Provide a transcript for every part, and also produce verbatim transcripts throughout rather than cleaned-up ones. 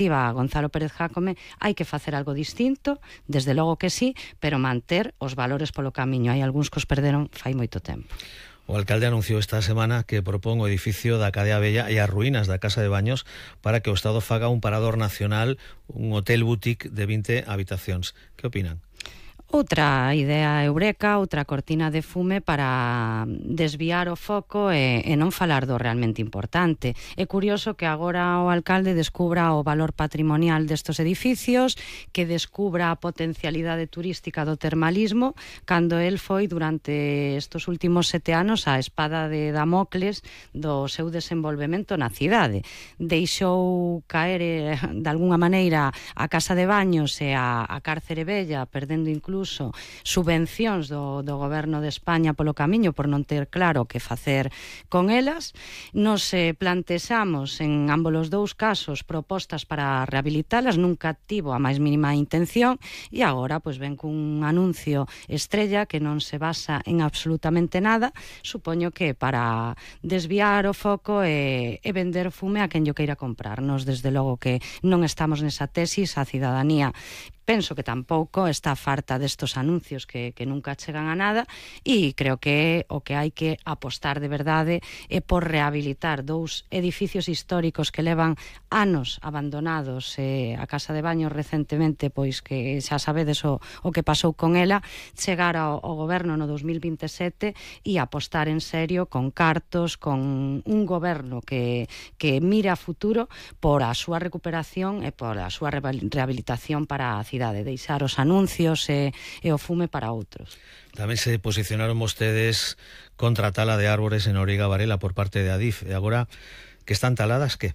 alternativa a Gonzalo Pérez Jácome, hai que facer algo distinto, desde logo que sí, pero manter os valores polo camiño. Hai algúns que os perderon fai moito tempo. O alcalde anunciou esta semana que propón o edificio da Cadea Vella e as ruínas da Casa de Baños para que o Estado faga un parador nacional, un hotel boutique de vinte habitacións. Que opinan? Outra idea eureka, outra cortina de fume para desviar o foco e, e non falar do realmente importante. É curioso que agora o alcalde descubra o valor patrimonial destos edificios, que descubra a potencialidade turística do termalismo, cando el foi durante estes últimos sete anos a espada de Damocles do seu desenvolvemento na cidade. Deixou caer de alguna maneira a Casa de Baños e a, a Cárcere Vella, perdendo incluso subvencións do, do goberno de España polo camiño por non ter claro que facer con elas. Nos eh, plantexamos en ambos os dous casos propostas para rehabilitalas, nunca tivo a máis mínima intención e agora pois ven cun anuncio estrella que non se basa en absolutamente nada, supoño que para desviar o foco e, e vender fume a quen yo queira comprar. Nos desde logo que non estamos nesa tesis, a cidadanía penso que tampouco está farta destos anuncios que, que nunca chegan a nada e creo que o que hai que apostar de verdade é por rehabilitar dous edificios históricos que levan anos abandonados. Eh, a Casa de Baños recentemente, pois que xa sabedes o, o que pasou con ela, chegar ao, ao goberno no dos mil vinte e sete e apostar en serio con cartos, con un goberno que, que mira a futuro por a súa recuperación e por a súa rehabilitación para a cidade, de deixar os anuncios e, e o fume para outros. Tamén se posicionaron vostedes contra a tala de árbores en Noriega Varela por parte de Adif, e agora que están taladas, que?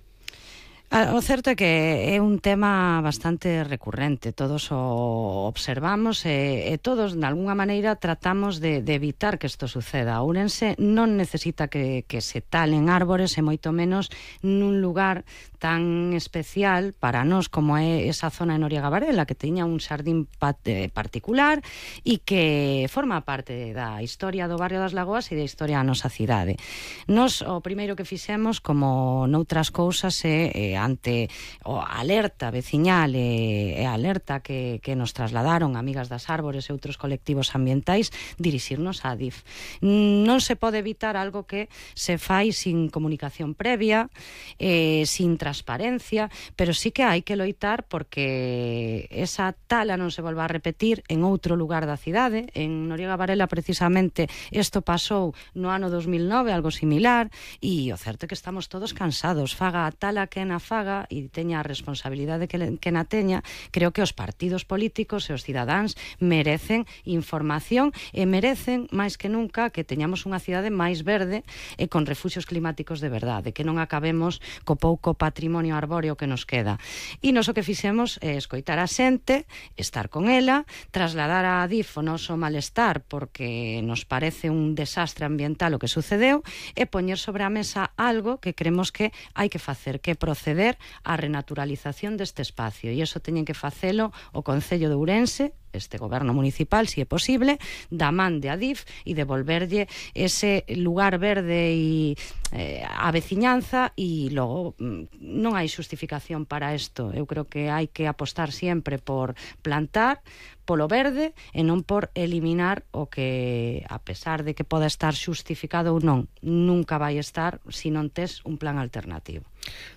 O certo é que é un tema bastante recurrente, todos o observamos e, e todos, de alguna maneira, tratamos de, de evitar que isto suceda. Ourense non necesita que, que se talen árbores e moito menos nun lugar tan especial para nós como é esa zona de Noriega Varela, que teña un xardín particular e que forma parte da historia do barrio das Lagoas e da historia da nosa cidade. Nos, o primeiro que fixemos, como noutras cousas, é ante o alerta veciñal e, e alerta que, que nos trasladaron Amigas das Árbores e outros colectivos ambientais, dirixirnos á Adif. Non se pode evitar algo que se fai sin comunicación previa, eh, sin transparencia, pero sí que hai que loitar porque esa tala non se volva a repetir en outro lugar da cidade. En Noriega Varela, precisamente, isto pasou no ano dos mil nove, algo similar, e o certo é que estamos todos cansados. Faga a tala que na faga e teña a responsabilidade que, que na teña, creo que os partidos políticos e os cidadáns merecen información e merecen, máis que nunca, que teñamos unha cidade máis verde e con refuxios climáticos de verdade, que non acabemos co pouco patrimonio arbóreo que nos queda. E nos o que fixemos é escoitar a xente, estar con ela, trasladar a Adif o noso malestar porque nos parece un desastre ambiental o que sucedeu e poñer sobre a mesa algo que creemos que hai que facer, que proceder á renaturalización deste espacio, e iso teñen que facelo o Concello de Ourense, este goberno municipal, si é posible, da man de Adif e devolverlle ese lugar verde e eh, a veciñanza, e logo non hai xustificación para isto. Eu creo que hai que apostar sempre por plantar, polo verde e non por eliminar o que, a pesar de que poda estar xustificado ou non, nunca vai estar se non tes un plan alternativo.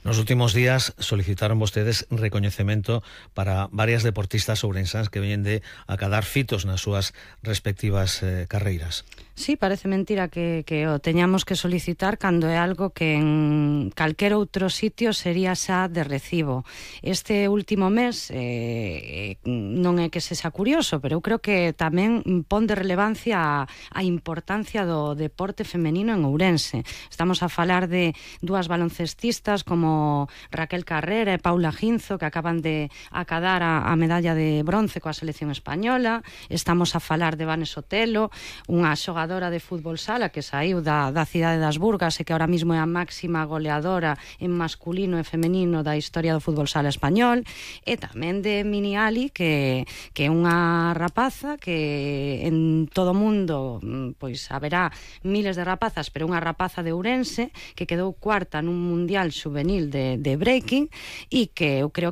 Nos últimos días solicitaron vostedes recoñecemento para varias deportistas ourensans que veñen de acadar fitos nas súas respectivas eh, carreiras. Sí, parece mentira que, que o teñamos que solicitar cando é algo que en calquer outro sitio sería xa de recibo. Este último mes eh, non é que sexa curioso, pero eu creo que tamén pon de relevancia a, a importancia do deporte femenino en Ourense. Estamos a falar de dúas baloncestistas como Raquel Carrera e Paula Ginzo, que acaban de acadar a, a medalla de bronce coa selección española. Estamos a falar de Vane Sotelo, unha xogadora de fútbol sala que saiu da, da cidade das Burgas e que ahora mismo é a máxima goleadora en masculino e femenino da historia do fútbol sala español, e tamén de Mini Ali, que, que é unha rapaza que en todo o mundo pois haberá miles de rapazas, pero unha rapaza de Ourense que quedou cuarta nun mundial juvenil de, de breaking e que eu creo que